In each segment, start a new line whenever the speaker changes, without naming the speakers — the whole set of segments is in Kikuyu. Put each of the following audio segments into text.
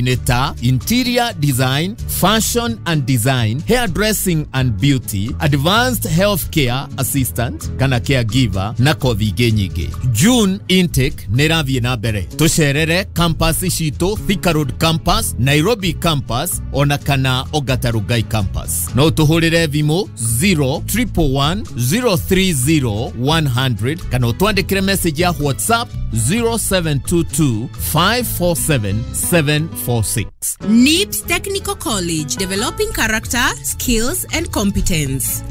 Kothi nĩ ta interior design, fashion and design, hairdressing and beauty, advanced healthcare assistant kana caregiver na kothi ingĩ nyingĩ. June intake nĩ ĩrathiĩ na mbere. Tũcerere campus citũ, Thika Road campus, Nairobi campus ona kana Ongata Rongai campus. No tũhũrĩre thimũ 0111 030 100 kana ũtwandĩkĩre message ya WhatsApp 0722 547 746.
NIBS Technical College, developing character, skills and competence.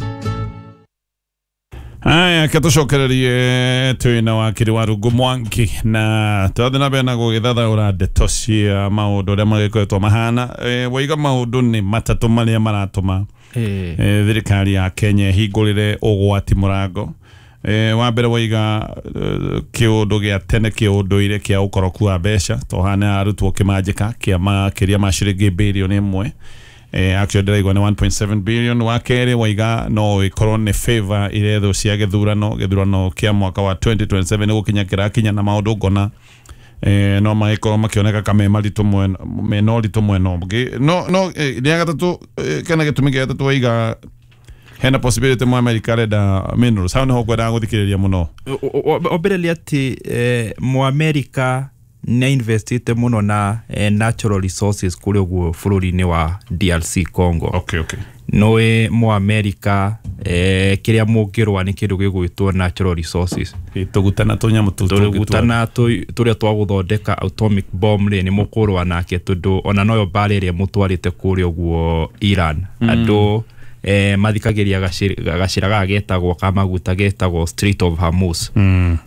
Aya, ke tũcokererie twĩna wakiri wa Rungu Mwangi na tũrathiĩ na mbere na gũgĩthathaũra ndeto cia maũndũ ũrĩa magĩkoretwo mahana. Waiga maũndũ nĩ matatũ marĩa maratũma thirikari ya Kenya ĩhingũrĩre ũgwati mũrango. Wa mbere waiga kĩũndũ gĩa tene kĩũndũire kĩa ũkoroku wa mbeca tohana arutwo kĩmanjĩka kĩa makĩria ma ciringi birioni 1. Actually ndĩraigua nĩ 1.7 billion. Wa kerĩ waiga no ĩkorwo nĩ favor irethwo cia gĩthurano kĩa mwaka wa 2027 nĩ gũkinya kĩrakinya na maũndũ ngona no magĩkorwo makĩoneka ka me maritũ mwena mena ũritũ mwena ũngĩ no rĩa gatatũ kana gĩtũmi gĩa gatatũ waiga hena possibility mwa America arenda minerals. Hau nĩho ngwendaga gũthikĩrĩria mũno.
Wa mbere nĩ atĩ Mũamerika nĩ investite mũno na natural resources kũrĩa ũguo bũrũri-inĩ wa DRC Congo. Nĩũĩ Mũamerika kĩrĩa mũngĩrũa nĩ kĩndũ gĩgwĩtwo natural resources.
Tũguta na tũnyamũ tũu tũngĩ.
Tũguta na tũrĩa twa gũthondeka atomic bomb rĩ, nĩ mũkũrũa nake tondũ ona noyo mbara ĩrĩa mũtwarĩte kũrĩa ũguo Iran. Andũ mathikagĩria gacĩra gaka getagwo ka maguta getagwo Strait of Hormuz.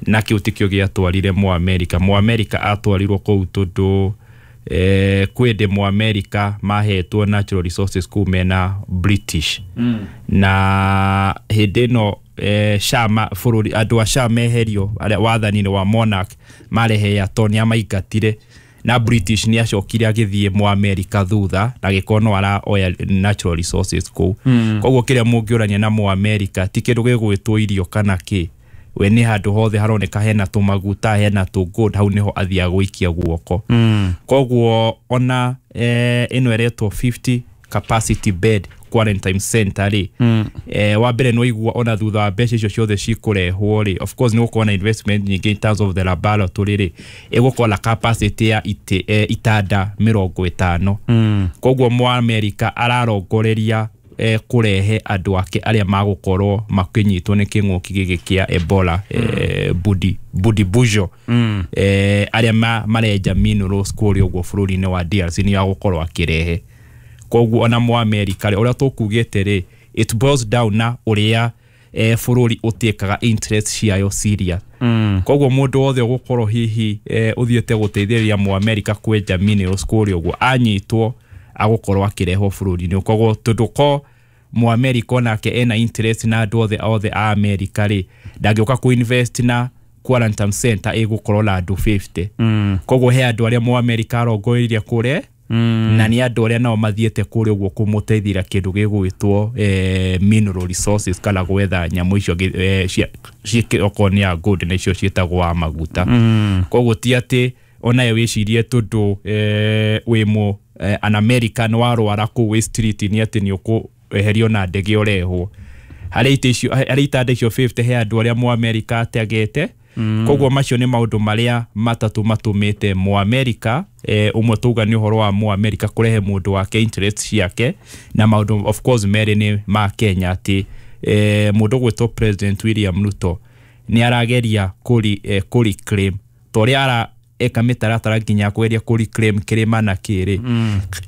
Na kĩu tikĩo gĩatwarire Mũamerika. Mũamerika atwarirwo kũu tondũ kwĩ ndĩ Mũamerika mahetwo natural resources kũu mena British. Na hĩndĩ ĩno Shah bũrũri andũ a Shah meherio arĩa wathani-inĩ wa monarch marehe to nĩ amaingatire na British nĩ acokire agĩthiĩ Mũamerika thutha na agĩkorwo no araoya natural resources kũu. Koguo kĩrĩa mũngĩũrania na Mũamerika ti kĩndũ gĩgwĩtwo irio kana kĩ, we nĩ handũ hothe haroneka hena tũmaguta, hena tũ gold, hau nĩho athiaga gũikia guoko. Koguo ona ĩno ĩretwo 50 capacity bed quarantine center rĩ, wa mbere nĩ waigua ona thutha wa mbeca icio ciothe cikũrehwo rĩ, of course nĩ gũkorwo na investment nyingĩ in terms of the laboratory rĩ, ĩgũkorwo na capacity ya itanda 50. Koguo Mũamerika ararongoreria kũrehe andũ ake arĩa magũkorwo makĩnyitwo nĩ kĩng'ũki gĩkĩ kĩa Ebola, Bundibugyo, arĩa marenja minerals kũrĩa ũguo bũrũri-inĩ wa DRC nĩ agũkorwo akĩrehe. Koguo ona Mũamerika rĩ, ũrĩa tũkugĩte rĩ, it boils down na ũrĩa bũrũri ũtĩkaga interest ciayo serious. Koguo mũndũ wothe ũgũkorwo hihi ũthiĩte gũteithĩrĩria Mũamerika kwenja minerals kũrĩa ũguo anyitwo agũkorwo akĩrehwo bũrũri-inĩ. Koguo tondũ ko Mũamerika onake ena interest na andũ othe othe a Amerika rĩ, ndangĩũka kũ-invest na quarantine center ĩgũkorwo na andũ 50. Koguo he andũ arĩa Mũamerika arongoreirie kũrĩa na nĩ andũ arĩa nao mathiĩte kũrĩa ũguo kũmũteithĩra kĩndũ gĩgwĩtwo mineral resources kana gwetha nyamũ icio okorwo nĩ ya gold na icio ciĩtagwo wa maguta. Koguo ti atĩ onawe wĩcirie tondũ wĩ mũ an American warwara kũu wĩ street nĩ atĩ nĩ ũkũeherio na ndege ũrehwo. Harĩ itĩ icio, harĩ itanda icio 50, he andũ arĩa Mũamerika ategete. Koguo macio nĩ maũndũ marĩa matatũ matũmĩte Mũamerika, ũmwe tauga nĩ ũhoro wa Mũamerika kũrehe mũndũ wake interest ciake, na maũndũ of course merĩ nĩ ma Kenya atĩ mũndũ gwĩtwo President William Ruto nĩ arageria kũreclaim ta ũrĩa ara eka mĩtaratara nginya kũgeria kũreclaim kĩrĩma na kĩrĩ,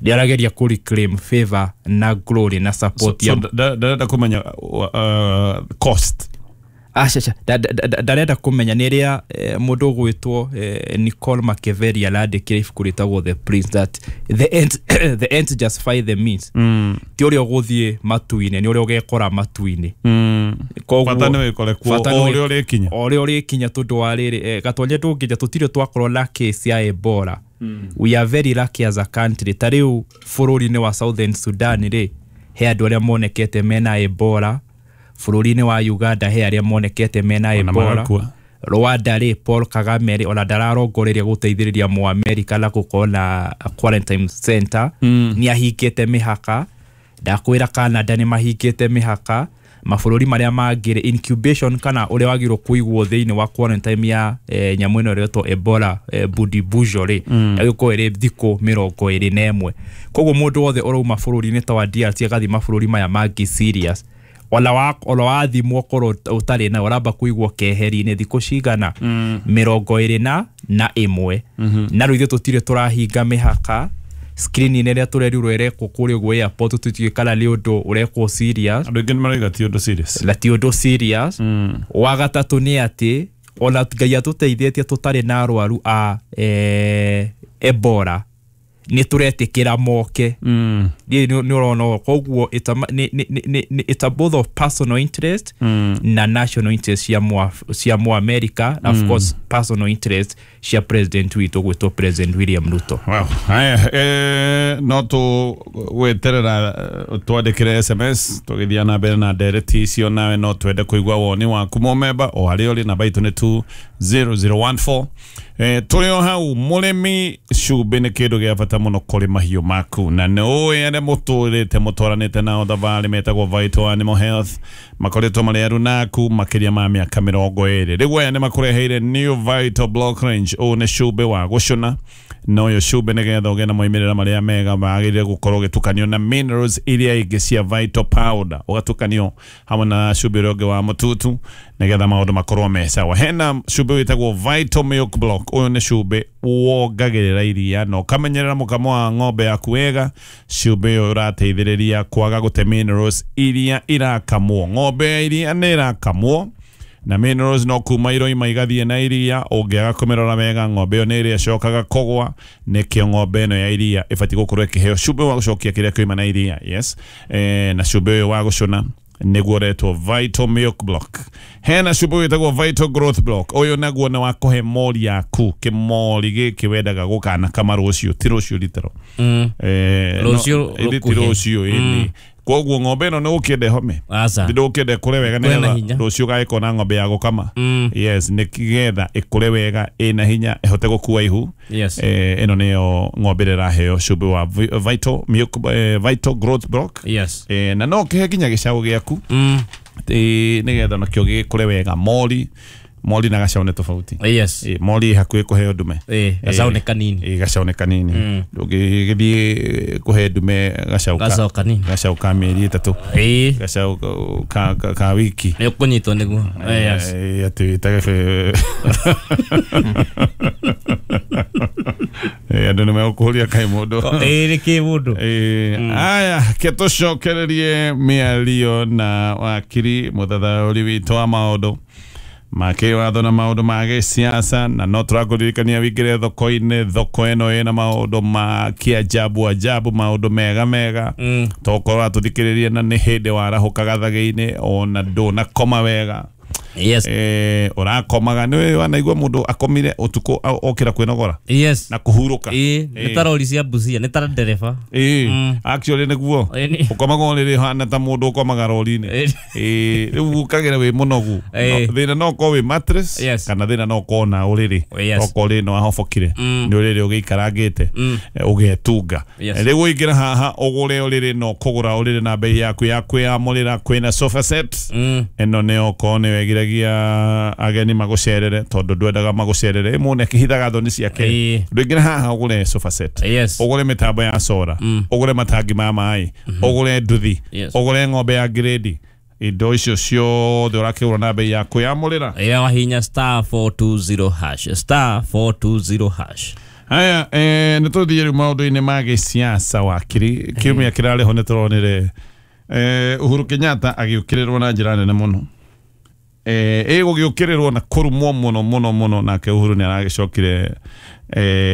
nĩ arageria kũreclaim favor na glory na support
So,
ya
ndarenda kũmenya cost.
Aca, ndarenda kũmenya nĩ rĩa mũndũ ũgwĩtwo Nicole Machiavelli arandĩkire ibuku rĩtagwo The Prince that the ends justify the means. Ti ũrĩa ũgũthiĩ matu-inĩ, nĩ ũrĩa ũgekora matu-inĩ. Koguo-
Bata nĩ wĩkore kuo
bata
o
nĩ
ũrĩa ũrĩkinya.
O ũrĩa ũrĩkinya tondũ wa rĩrĩ, Gatonye, ndũngĩnja tũtirĩ twakorwo na case ya Ebola. We are very lucky as a country. Ta rĩu bũrũri-inĩ wa Southern Sudan rĩ, he andũ arĩa monekete mena Ebola. Bũrũri-inĩ wa Uganda he arĩa monekete mena
Ona
Ebola.
magakua.
Rwanda rĩ, Paul Kagame rĩ, ona ndararongoreria gũteithĩrĩria Mũamerika na gũkorwo na quarantine center. Nĩ ahingĩte mĩhaka. Ndakwĩra Canada nĩ mahingĩte mĩhaka. Mabũrũri marĩa mangĩ rĩ, incubation kana ũrĩa wagĩrĩirwo kũigwo thĩinĩ wa quarantine ya nyamũ ĩno ĩretwo Ebola Bundibugyo rĩ, yagĩkorwo ĩrĩ thikũ 21. Koguo mũndũ wothe ũrauma bũrũri-inĩ ta wa DRC agathiĩ mabũrũri maya mangĩ serious, ona wathimwo korwo ũtarĩ nayo, ũramba kũigwo keheri-inĩ thikũ cigana 21. Na rĩu ithuĩ tũtirĩ tũrahinga mĩhaka. Screening ĩrĩa tũrerirwo ĩrekwo kũrĩa ũguo airport tũtiũĩ kana nĩ ũndũ ũrekwo serious.
Andũ aingĩ nĩ marauga ti ũndũ serious.
Na ti ũndũ serious. Wa gatatũ nĩ atĩ ona Ngai atũteithĩtie tũtarĩ na arwaru a Ebola, nĩ tũretĩkĩra moke. Nĩ ũrona, koguo it's a both of personal interest na national interest cia Mũamerika, na of course personal interest cia president witũ gwĩtwo President William Ruto.
Wow. Haya, no tũgweterera twandĩkĩre SMS tũgĩthiĩ na mbere na ndereti icio, nawe no twende kũigua woni waku mũmemba o harĩa ũrĩ. Namba itũ nĩ 20014. Tũrĩ o hau, mũrĩmi, cumbĩ nĩ kĩndũ gĩa bata mũno kũrĩ mahiũ maku, na nĩ ũĩ arĩa mũtũrĩte mũtwaranĩte nao thabarĩ metagwo Vital Animal Health makoretwo marĩ arunaku makĩria ma mĩaka 20. Rĩu aya nĩ makũreheire New Vital Block Range. Ũyũ nĩ cumbĩ wa gũcũna, na ũyũ cumbĩ nĩgetha ũgĩe na moimĩrĩra marĩa mega wagĩrĩire gũkorwo ũgĩtukanio na minerals iria ingĩ cia Vital Powder, ũgatukanio hamwe na cumbĩ ũrĩa ũngĩ wa mũtutu nĩgetha maũndũ makorwo me sawa. Hena cumbĩ wĩtagwo Vital Milk Block. Ũyũ nĩ cumbĩ wongagĩrĩra iria na ũkamenyerera mũkamo wa ng'ombe yaku wega. Cumbĩ ũyũ ũrateithĩrĩria kwaga gũte minerals iria irakamwo. Ng'ombe ya iria nĩ irakamwo na minerals no kuma iroima igathiĩ na iria. Ũngĩaga kũmĩrora wega, ng'ombe ĩyo nĩ ĩrĩa ĩcokaga kũgwa. Nĩkĩo ng'ombe ĩno ya iria ĩbatiĩ gũkorwo ĩkĩheo cumbĩ wa gũcokia kĩrĩa kĩoima na iria. Yes. Na cumbĩ ũyũ wa gũcũna nĩguo ũretwo Vital Milk Block. Hena cumbĩ wĩtagwo Vital Growth Block. Ũyũ naguo nĩ wa kũhe mori yaku kĩmori gĩkĩ wendaga gũkanakama rũciũ, ti rũciũ ritero.
Rũciũ
ti rũciũ ĩni. Koguo ng'ombe ĩno nĩ ũkĩenda ĩhome, ndũkĩenda ĩkũre wega nĩgetha rũciũ ũgagĩkorwo na ng'ombe ya gũkama. Yes, nĩgetha ĩkũre wega ĩna hinya ĩhote gũkua ihu. Ĩno nĩyo ng'ombe ĩrĩa ĩraheo cumbĩ wa Vital Milk, Vital Growth Block. Na no ũkĩhe nginya gĩcaũ gĩaku nĩgetha nakĩo gĩkũre wega. Mori na gacau nĩ tofauti. Mori hakuhĩ kũheo ndume.
Gacau nĩ kanini.
Gacau nĩ kanini. Ndũngĩgĩthiĩ kũhe ndume gacau
kanini.
Gacau ka mĩeri 3. Gacau ka wiki.
Nĩ ũkũnyitwo nĩguo.
Atĩ wĩtage andũ nĩ megũkũria kaĩ mũndũ.
Nĩ kĩ mũndũ.
Aya, ke tũcokererie mĩario na wakiri mũthathaũri witũ wa maũndũ ma kĩwatho na maũndũ ma gĩsiasa, na no tũrakũririkania wĩingĩre thoko-inĩ. Thoko ĩno ĩna maũndũ ma kĩajabu ajabu, maũndũ mega mega. Tokorwo atũthikĩrĩrie na nĩ hĩndĩ warahũka gathagĩ-inĩ ona ndũnakoma wega.
Yes.
Ũrakomaga nĩ wanaigua mũndũ akomire ũtukũ okĩra kwĩnogora.
Yes.
Na kũhurũka.
Nĩ ta rori cia Busia, nĩ ta ndereba.
Actually nĩguo. Ũkomaga ũrĩrĩ hana ta mũndũ ũkomaga rori-inĩ. Rĩu ũkagĩra wĩ mũnogu. Thĩna no ũkorwo wĩ mattress, kana thĩna no ũkorwo na ũrĩrĩ. Okorwo ũrĩrĩ no wahobokire, nĩ ũrĩrĩ ũgĩikarangĩte ũgetunga. Rĩu ũingĩra haha ũgũre ũrĩrĩ, no kũgũra ũrĩrĩ na bei yaku ya kwĩyamũrĩra. Kwĩna sofa set. Ĩno nĩ okorwo nĩ wegiragia ageni magũcerere, tondũ ndwendaga magũcerere ĩmwe akĩhithaga thoni ciake. Ndũingĩre haha ũgũre sofa set, ũgũre mĩtambo ya sora, ũgũre matangi ma maĩ, ũgũre nduthi, ũgũre ng'ombe ya grade. Indo icio ciothe ũrakĩgũra na bei ya kwĩyamũrĩra.
Ya wahinya *420#, *420#.
Haya, nĩ tũthiĩ rĩu maũndũ-inĩ ma gĩsiasa wakiri. Kiumia kĩrarĩ ho nĩ tũronire Uhuru Kenyatta agĩũkĩrĩrwo na njĩra nene mũno. Ĩgũgĩũkĩrĩrwo na kũrumwo mũno mũno mũno. Nake Uhuru nĩ aragĩcokire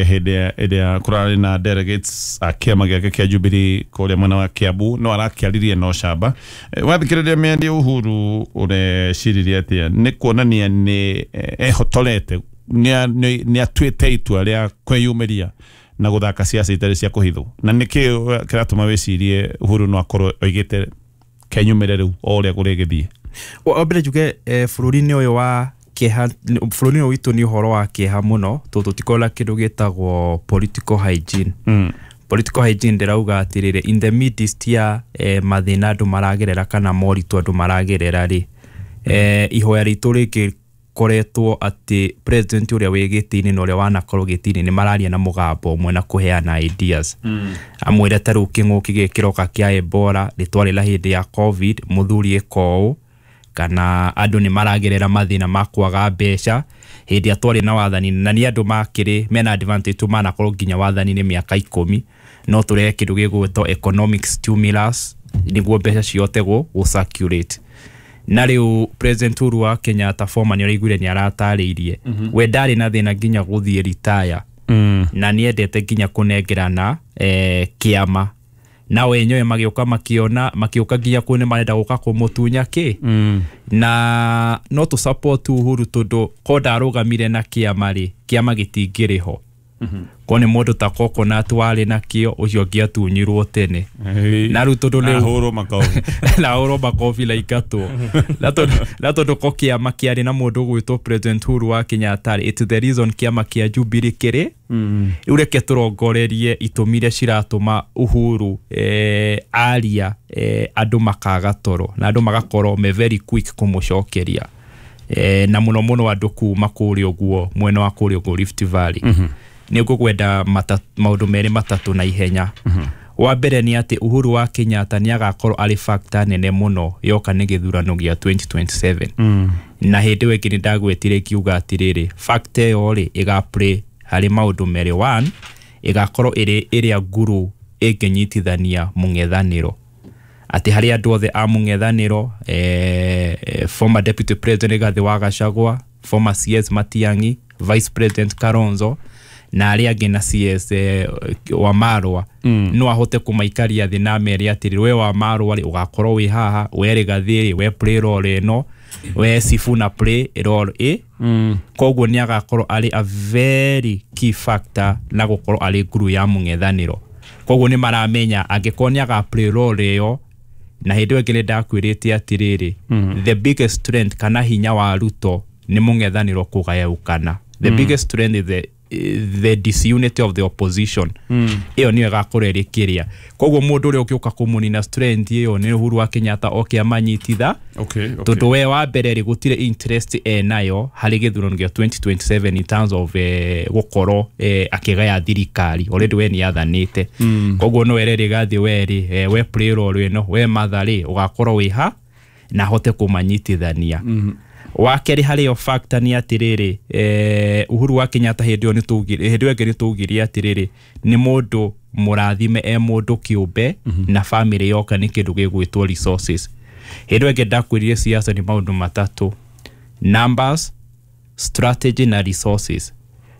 hĩndĩ ĩrĩa kũrarĩ na delegates a kĩama gĩake kĩa Jubilee kũrĩa mwena wa Kiambu, no arakĩaririe na ũcamba. Wathikĩrĩria mĩario Uhuru ũreciririe atĩa? Nĩ kuonania nĩ ehotorete, nĩ atuĩte itua rĩa kwĩyumĩria na gũthaka siasa itarĩ cia kũhithwo. Na nĩkĩ kĩratũma wĩcirie Uhuru no akorwo oigĩte kenyumĩre rĩu o ũrĩa kũrĩgĩthiĩ?
Wa mbere njuge bũrũri-inĩ ũyũ wa Kĩeha bũrũri ũyũ witũ nĩ ũhoro wa kĩeha mũno tondũ tũtikoragwo na kĩndũ gĩtagwo political hygiene. Political hygiene ndĩrauga atĩrĩrĩ, in the midst ya mathĩna andũ maragerera kana moritũ andũ maragerera rĩ, ihoya ritũ rĩngĩ koretwo atĩ president ũrĩa wĩ gĩtĩ-inĩ na ũrĩa wanakorwo gĩtĩ-inĩ nĩ mararia na mũgambo ũmwe na kũheana ideas. Amwĩre ta rĩu kĩng'ũki gĩkĩ kĩroka kĩa Ebola rĩtwarĩ la hĩndĩ ya COVID, mũthuri ĩka ũũ, kana andũ nĩ maragerera mathĩna ma kwaga mbeca hĩndĩ ĩrĩa twarĩ na wathani, na nĩ andũ makĩrĩ mena advantage tu manakorwo nginya wathani-inĩ mĩaka 10, no tũrehe kĩndũ gĩgwĩtwo economic stimulus nĩguo mbeca cihote gũ circulate. Na rĩu President Uhuru wa Kenyatta former nĩ ũraiguire nĩ aratarĩirie we ndarĩ na thĩna nginya gũthiĩ retire, na nĩendete nginya kũnengerana kĩama, na wenyewe magĩũka makĩona makĩũka nginya kũ nĩ marenda gũka kũmũtunya kĩ. Na no tũ support Uhuru tondũ ko ndarũgamire na kĩama rĩ, kĩama gĩtingĩrĩ ho. Ko nĩ mũndũ ta Coconut warĩ nakĩo, ũcio ũngĩatunyirwo tene. Na rĩu tondũ rĩu
ahũrwo makobi
na ahũrwo makobi na ingatwo, na tondũ ko kĩama kĩarĩ na mũndũ ũgwĩtwo President Uhuru wa Kenyatta rĩ, it's the reason kĩama kĩa Jubilee kĩrĩ rĩu. Reke tũrongorerie itũmi iria ciratũma Uhuru aria andũ makaga toro na andũ magakorwo me very quick kũmũcokeria, na mũno mũno andũ kuma kũrĩa ũguo mwena wa kũrĩa ũguo Rift Valley. Nĩ ngũkwenda maũndũ merĩ matatũ na ihenya. Wa mbere nĩ atĩ Uhuru wa Kenyatta nĩ agakorwo arĩ factor nene mũno yoka nĩ gĩthurano gĩa 2027. Na hĩndĩ ĩyo ĩngĩ nĩ ndagwetire ngiuga atĩrĩrĩ, factor ĩyo rĩ ĩga play harĩ maũndũ merĩ. One, ĩgakorwo ĩrĩ ĩrĩa nguru ĩngĩnyitithania mũng'ethanĩro, atĩ harĩ andũ othe a mũng'ethanĩro, former Deputy President Rigathi wa Gachagua, former CS Matiang'i, Vice President Kalonzo na arĩa angĩ na CS wa Marwa, no ahote kũmaikaria thĩ na mere atĩrĩ, we wa Marwa rĩ, ũgakorwo wĩ haha, we Rigathi rĩ, we play role ĩno, we Sifuna play role ĩ. Koguo nĩ agakorwo arĩ a very key factor na gũkorwo arĩ nguru ya mũng'ethanĩro. Koguo nĩ maramenya angĩkorwo nĩ aga play role ĩyo. Na hĩndĩ ĩyo ĩngĩ nĩ ndakwĩrĩte atĩrĩrĩ, the biggest strength kana hinya wa Ruto nĩ mũng'ethanĩro kũgayũkana. The biggest strength is the disunity of the opposition. Ĩyo nĩyo ĩgakorwo ĩrĩ kĩrĩa. Koguo mũndũ ũrĩa ũngĩũka kũmũnina strength ĩyo nĩ Uhuru wa Kenyatta oke amanyititha, tondũ we wa mbere rĩ, gũtirĩ interest enayo harĩ gĩthurano gĩa 2027 in terms of gũkorwo akĩgaya thirikari. Already we nĩ athanĩte. Koguo no ere Rigathi, we rĩ, we play role ĩno, we Martha rĩ, ũgakorwo wĩ ha, na ahote kũmanyitithania. Wa kerĩ harĩ yo factor nĩ atĩrĩrĩ, Uhuru wa Kenyatta hĩndĩ ĩyo nĩ twaugire, hĩndĩ ĩyo ĩngĩ nĩ twaugire atĩrĩrĩ, nĩ mũndũ mũrathime e mũndũ kĩũmbe na family yoka nĩ kĩndũ gĩgwĩtwo resources. Hĩndĩ ĩyo ĩngĩ ndakwĩrire siasa nĩ maũndũ matatũ: numbers, strategy na resources.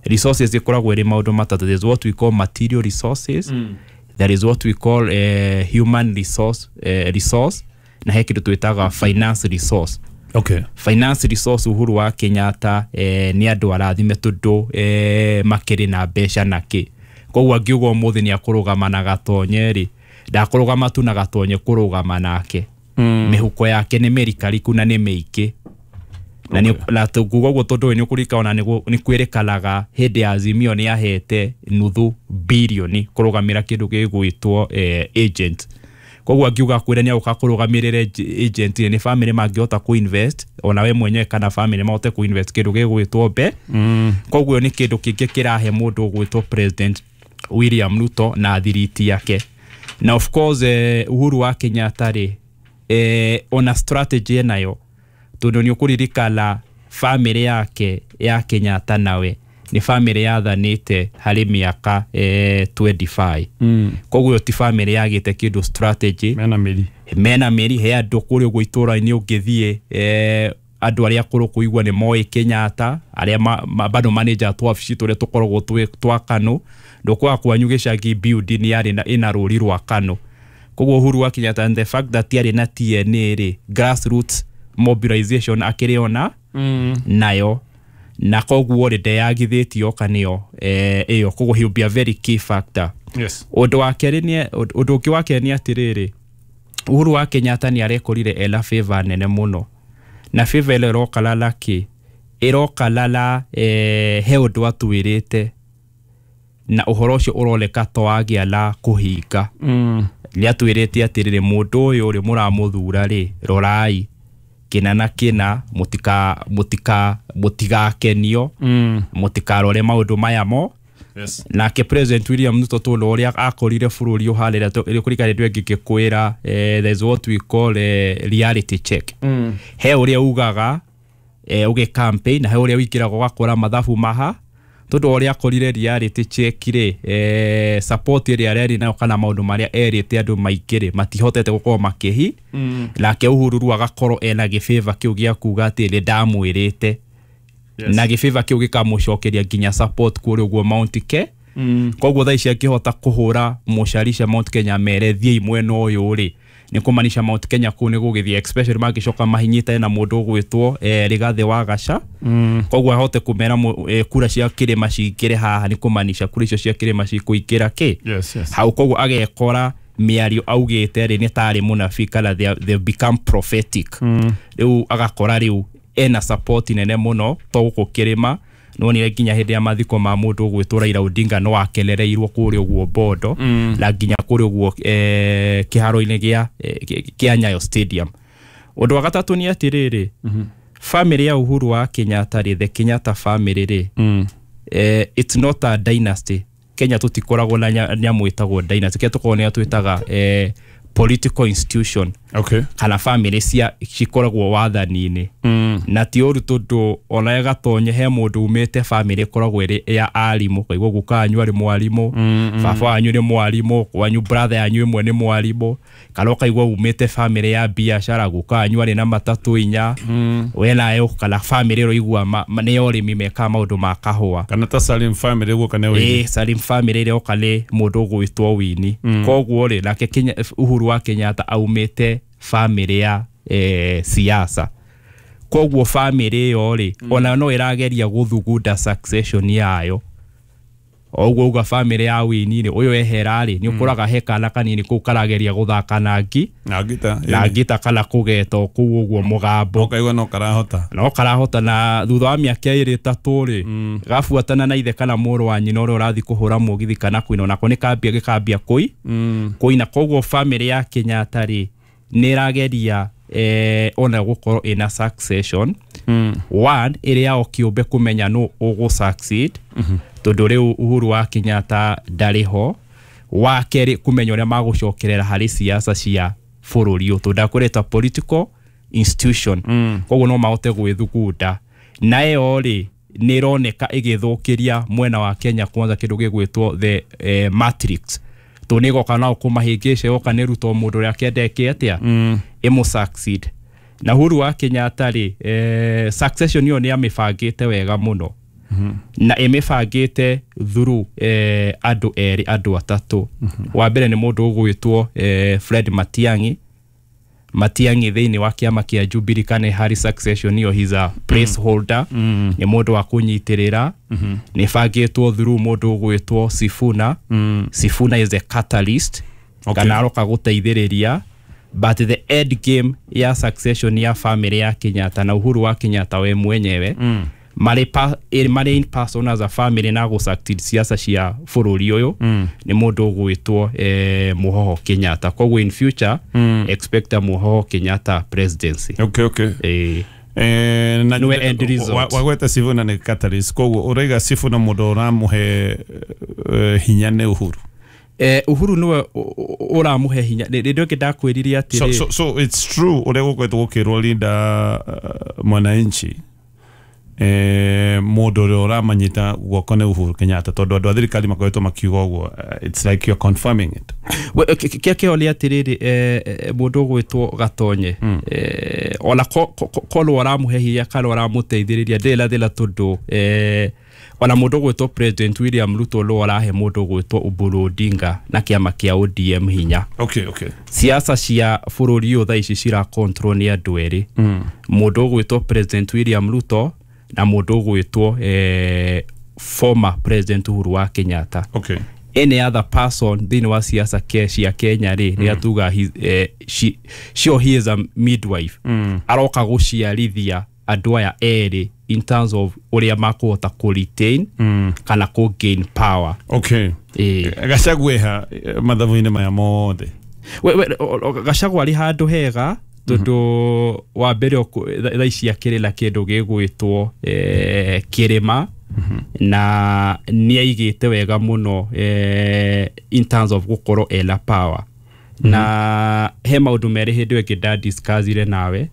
Resources ikoragwo ĩrĩ maũndũ matatũ. There is what we call material resources, there is what we call human resource, na he kĩndũ twĩtaga finance resource. Finance resource, Uhuru wa Kenyatta nĩ andũ arathime tondũ makĩrĩ na mbeca na kĩ. Koguo angiuga ũmũthĩ nĩ akũrũgama na Gatonye rĩ, ndakũrũgama tu na Gatonye, kũrũgama nake mĩhuko yake nĩ mĩrikariku na nĩ mĩingĩ. Na nĩ na tũkuga ũguo tondũ nĩ ũkũririkana ona nĩ kwĩrĩkanaga hĩndĩ ya Azimio nĩ ahete 0.5 birioni kũrũgamĩra kĩndũ gĩgwĩtwo agent. Koguo angiuga kwĩra nĩ agũka kũrũgamĩrĩra agent rĩ, nĩ family mangĩhota kũ-invest, ona we mwenyewe kana family mahote kũ-invest kĩndũ gĩgwĩtwo mbe. Koguo nĩ kĩndũ kĩngĩ kĩrahe mũndũ ũgwĩtwo President William Ruto na thiriti yake. Na of course Uhuru wa Kenyatta rĩ, ona strategy enayo, tondũ nĩ ũkũririkana family yake ya Kenyatta nawe nĩ family yathanĩte harĩ mĩaka 25. Koguo ĩyo ti family yagĩte kĩndũ strategy.
Mena mĩri.
Mena mĩri. He andũ kũrĩa ũguo itũũra-inĩ ũngĩthiĩ, andũ arĩa akũrũ kũigua nĩ moĩ Kenyatta, arĩa bado manager twabici tũrĩa tũkoragwo twĩ twa KANU. Ndũkwaga kwanyu gĩcagi building yarĩ na ĩna rũri rwa KANU. Koguo Uhuru wa Kenyatta and the fact that yarĩ na TNA rĩ, grassroots mobilization akĩrĩ ona nayo, na koguo rĩ, ndeyagithĩtio oka nĩyo ĩyo. Koguo he will be a very key factor. Ũndũ wa kerĩ nĩ ũndũ ũngĩ wa kerĩ nĩ atĩrĩrĩ, Uhuru wa Kenyatta nĩ arekorire ena favor nene mũno, na favor ĩrĩa ĩroka lalaki Ĩroka lala he ũndũ atwĩrĩte na ũhoro ũcio ũroneka to wagĩa la kũhinga. Nĩ atwĩrĩte atĩrĩrĩ, mũndũ ũyũ rĩ mũramũthura rĩ, rorai kĩna na kĩna, mũtigakenio, mũtikarore maũndũ maya mo.
Yes.
Nake President William Ruto tondũ ũrĩa akorire bũrũri ũharĩra kũringana ndũ ĩngĩ ngĩkwĩra, there's what we call reality check. He ũrĩa ugaga ũgĩ campaign na he ũrĩa wĩingĩraga ũgakora mathabu maha, tondũ ũrĩa akorire reality check rĩ, support ĩrĩa arerĩ nayo kana maũndũ marĩa erĩte andũ maingĩ rĩ matihotete gũkorwo makĩhi. Nake Uhuru rĩu agakorwo ena gĩbĩba kĩu gĩa kuga atĩ nĩ ndamwĩrĩte.
Yes.
Na gĩbĩba kĩu gĩkamũcokeria nginya support kũrĩa ũguo Mount Ke. Koguo thaa ici angĩhota kũhũra mũcarica Mount Kenya mere thiĩi mwena ũyũ rĩ, nĩ kũmanisha Mount Kenya kũu nĩ gũgĩthiĩ, especially mangĩcoka mahinyĩtane na mũndũ ũgwĩtwo Rigathĩ wa Gaca. Koguo ahote kũmera kura cia kĩrĩma cingĩre haha, nĩ kũmanisha kura icio cia kĩrĩma cikũingĩra kĩ
Yes, yes.
hau. Koguo agekora mĩario augĩte rĩ nĩ tarĩ mũnabii kana they become prophetic. Rĩu agakora rĩu ena support nene mũno to gũkũ kĩrĩma. Nonire nginya hĩndĩ ya mathiko ma mũndũ ũgwĩtwo Raila Odinga no akenereirwo kũrĩa ũguo Bondo, na nginya kũrĩa ũguo kĩharo-inĩ gĩa Nyayo Stadium. Ũndũ wa gatatũ nĩ atĩrĩrĩ, family ya Uhuru wa Kenyatta rĩ, the Kenyatta family rĩ, it's not a dynasty. Kenya tũtikoragwo na nyamũ ĩtagwo dynasty. Kenya tũkoragwo nĩyo twĩtaga political institution
Okay.
kana family cia cikoragwo wathani-inĩ. Na ti ũru tondũ ona gatonye he mũndũ umĩte family ĩkoragwo ĩrĩ ya arimũ, kaigua guka wanyu arĩ mwarimũ, baba wanyu nĩ mwarimũ, wanyu brother yanyu ĩmwe nĩ mwarimũ, kana ũkaigua umĩte family ya biacara, guka wanyu arĩ na matatũ inya, we nayo kana family ĩroigua nĩ ya ũrĩmi, mekaga maũndũ ma kahũa.
Kana ta Salim family guo kana wĩini.
Ĩ Salim family ĩrĩa oka nĩ mũndũ ũgwĩtwo Wini. Koguo rĩ, nake Uhuru wa Kenyatta aumĩte family ya siasa. Koguo family ĩyo rĩ, ona no ĩrageria gũthugunda succession yayo. Oguo uga family ya Wini rĩ, ũyũ ehera rĩ, nĩ ũkoraga he kana kanini kũu karageria gũthaka na ngi
Na ngita.
Na ngita kana kũgeta o kũu ũguo mũgambo.
Ũkaigua no karahota.
No karahota, na thutha wa mĩaka ĩrĩ ĩtatũ rĩ, gabuatana na ithe kana mũrũ wa nyina ũrĩa ũrathiĩ kũhũra mũgithi kana kũina, onako nĩ kambia gĩkambia kũi kũina. Koguo family ya Kenyatta rĩ nĩ ĩrageria ona gũkorwo ĩna succession one ĩrĩ yao kĩũmbe kũmenya nũ ũgũ succeed, tondũ rĩu Uhuru wa Kenyatta ndarĩ ho. Wa kerĩ, kũmenya ũrĩa magũcokerera harĩ siasa cia bũrũri ũyũ, tondũ ndakwĩrĩta political institution. Koguo no mahote gwĩthugunda na ĩyo rĩ nĩ ĩroneka ĩgĩthũkĩria mwena wa Kenya Kwanza kĩndũ gĩgwĩtwo the matrix, tondũ nĩ ĩgoka nao kũmahĩngĩca, ĩgoka nĩ ruto mũndũ ũrĩa akĩenda ĩke atĩa, ĩmũ succeed. Na Uhuru wa Kenyatta rĩ, succession ĩyo nĩ amĩbangĩte wega mũno, na ĩmĩbangĩte through andũ erĩ, andũ atatũ. Wa mbere nĩ mũndũ ũgwĩtwo Fred Matiang'i. Matiang'i thĩinĩ wa kĩama kĩa Jubilee kana harĩ succession ĩyo he's a placeholder, nĩ mũndũ wa kũnyitĩrĩra. Nĩ bangĩtwo through mũndũ ũgwĩtwo Sifuna. Sifuna is a catalyst kana aroka gũteithĩrĩria, but the end game ya succession ya family ya Kenyatta na Uhuru wa Kenyatta we mwenyewe, marĩ in person as a family na gũ succeed siasa cia bũrũri ũyũ, nĩ mũndũ ũgwĩtwo Muhoho Kenyatta. Koguo in future expect a Muhoho Kenyatta presidency.
Okay. Na
Nĩwe end result.
Wagweta Sifuna nĩ catalyst, koguo ũraiga Sifuna mũndũ ũramũhe hinya nĩ Uhuru.
Uhuru nĩwe ũramũhe hinya. Rĩrĩa ĩngĩ ndakwĩrire atĩrĩ,
So it's true ũrĩa gũkoretwo gũkĩrwo Linda Mwananchi, mũndũ ũrĩa ũramanyita guoko nĩ Uhuru Kenyatta, tondũ andũ a thirikari makoretwo makiuga ũguo, it's like you're confirming it.
Kĩrĩa kĩho nĩ atĩrĩrĩ, mũndũ ũgwĩtwo Gatonye, ona korwo ũramũhe hinya kana ũramũteithĩrĩria ndĩrĩ na thĩna, tondũ ona mũndũ ũgwĩtwo President William Ruto nĩwe ũrahe mũndũ ũgwĩtwo Oburu Odinga na kĩama kĩa ODM hinya. Siasa cia bũrũri ũyũ thaa ici cira control nĩ andũ erĩ, mũndũ ũgwĩtwo President William Ruto na mũndũ ũgwĩtwo former President Uhuru wa Kenyatta. Any other person thĩinĩ wa siasa cia Kenya rĩ, nĩ atuga she or he is a midwife, aroka gũciarithia andũ aya erĩ. in terms of ũrĩa makũhota kũ retain kana kũ gain power.
Okay. Gachagua eha mathabu-inĩ maya mothe?
Gachagua arĩ handũ hega tondũ wa mbere thaa ici akĩrĩ na kĩndũ gĩgwĩtwo kĩrĩma na nĩ aigĩte wega mũno in terms of gũkorwo ena power. Na he maũndũ merĩ hĩndĩ ĩyo ĩngĩ ndadiscussire nawe.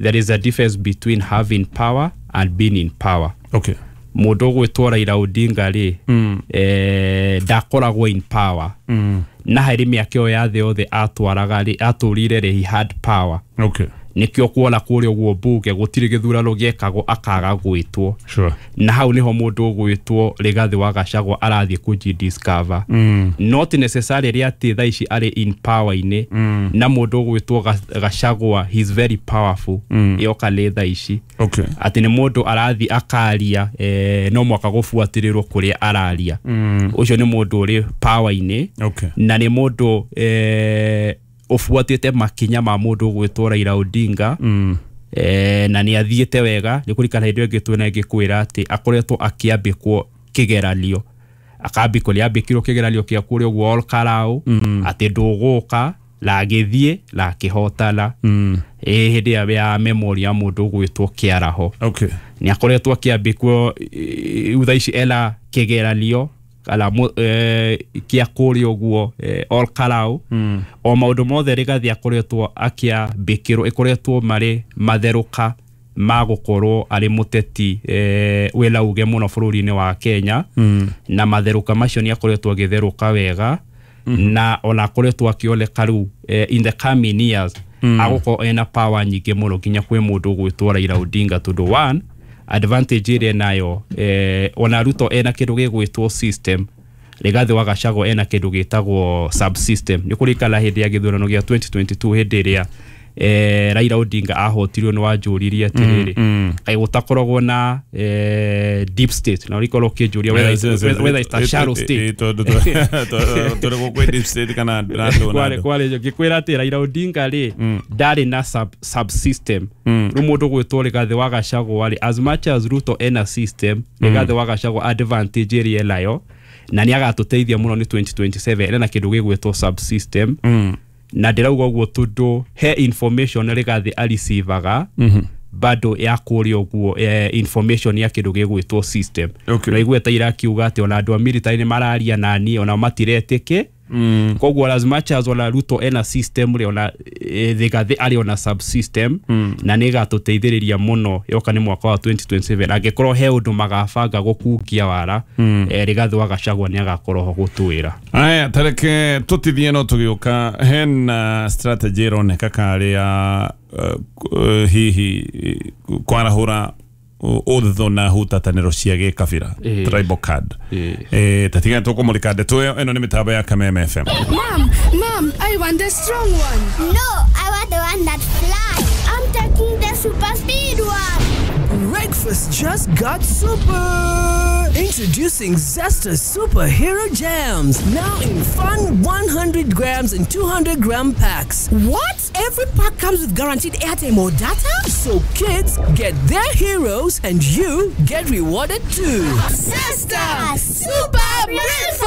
There is a difference between having power and being in power.
Okay.
Mũndũ ũgwĩtwo Raila Odinga rĩ, ndakoragwo in power. Na harĩ mĩaka ĩyo ya thĩ yothe atwaraga rĩ, atũrire rĩ, he had power.
Okay.
Nĩkĩo kuona kũrĩa ũguo mbunge gũtirĩ gĩthurano gĩekagwo akaga gwĩtwo.
Sure.
Na hau nĩho mũndũ ũgwĩtwo Rigathĩ wa Gachagua arathiĩ kũji-discover. Not necessarily atĩ thaa ici arĩ in power-inĩ. Na mũndũ ũgwĩtwo Gachagua he is very powerful. Ĩyoka nĩ thaa ici.
Okay.
Atĩ nĩ mũndũ arathiĩ akaria no mwaka gũbuatĩrĩrwo kũrĩa araria. Ũcio nĩ mũndũ ũrĩ power-inĩ.
Okay.
Na nĩ mũndũ ũbuatĩte makinya ma mũndũ ũgwĩtwo Raila Odinga. Na nĩ athiĩte wega nĩ kũrikana hĩndĩ ĩyo ĩngĩ twĩna ngĩkwĩra atĩ akoretwo akĩambĩkwo kĩgeranio, akambĩkwo nĩ ambĩkirwo kĩgeranio kĩa kũrĩa ũguo Olkarau atĩ ndũgũka na agĩthiĩ na akĩhotana. Hĩndĩ ya memory ya mũndũ ũgwĩtwo Kĩaraho.
Okay.
Nĩ akoretwo akĩambĩkwo thaa ici ena kĩgeranio kana kĩa kũrĩa ũguo Olkarau. O maũndũ mothe Rigathĩ akoretwo akĩambĩkĩrwo ĩkoretwo marĩ matherũka ma gũkorwo arĩ mũteti wĩna uge mũno bũrũri-inĩ wa Kenya. Na matherũka macio nĩ akoretwo agĩtherũka wega. Na ona akoretwo akĩoneka rĩu in the coming years agũkorwo ena power nyingĩ mũno nginya kwĩ mũndũ ũgwĩtwo Raila Odinga tondũ one advantage ĩrĩa enayo ona Ruto ena kĩndũ gĩgwĩtwo system, Rigathĩ wa Gachagua ena kĩndũ gĩtagwo subsystem. Nĩ kũrikana hĩndĩ ya gĩthurano gĩa 2022 hĩndĩ ĩrĩa Raila Odinga ahotirwo nĩ wanjũririe atĩrĩrĩ, kaĩ gũtakoragwo na deep state, na ũrĩkorwo ũkĩnjũria whether it's a shallow state.
Tondũ gũkwĩ deep state kana
kwarĩ ngĩkwĩra atĩ Raila Odinga rĩ ndarĩ na subsystem. Rĩu mũndũ gwĩtwo Rigathĩ wa Gachagua rĩ, as much as Ruto ena system, Rigathĩ wa Gachagua advantage ĩrĩa enayo na nĩ agatũteithia mũno nĩ 2027 ena kĩndũ gĩgwĩtwo subsystem. Na ndĩrauga ũguo tondũ he information Rigathĩ areceivaga bado ya kũrĩa ũguo information ya kĩndũ gĩgwĩtwo system.
Okay.
Na igweta irakiuga atĩ ona andũ a military nĩ mararia nani ona matiretĩke. Koguo as much as ona Ruto ena system rĩ, ona Rigathĩ arĩ ona subsystem na nĩ ĩgatũteithĩrĩria mũno yoka nĩ mwaka wa 2027 angĩkorwo he ũndũ magabanga gũkungia wara. Rigathĩ wa Gachagua nĩ agakorwo ho gũtwĩra.
Aya, tareke tũtithie no tũgĩũka hena strategy ĩroneka karĩ ya hihi kwarahũra ũthũ na hutatanĩro cia gĩkabira, tribal card. Tatigana tũkũmũrĩka ndeto ĩyo. Ĩno nĩ mĩtambo ya Kameme FM.
Mom, Mom, I want the strong one.
No, I want the one that flies. I'm taking the super speed one.
Breakfast just got super. Introducing Zesta Superhero Jams, now in fun 100 grams and 200 gram packs.
What? Every pack comes with guaranteed airtime or data?
So kids get their heroes and you get rewarded too.
Zesta Super Breakfast!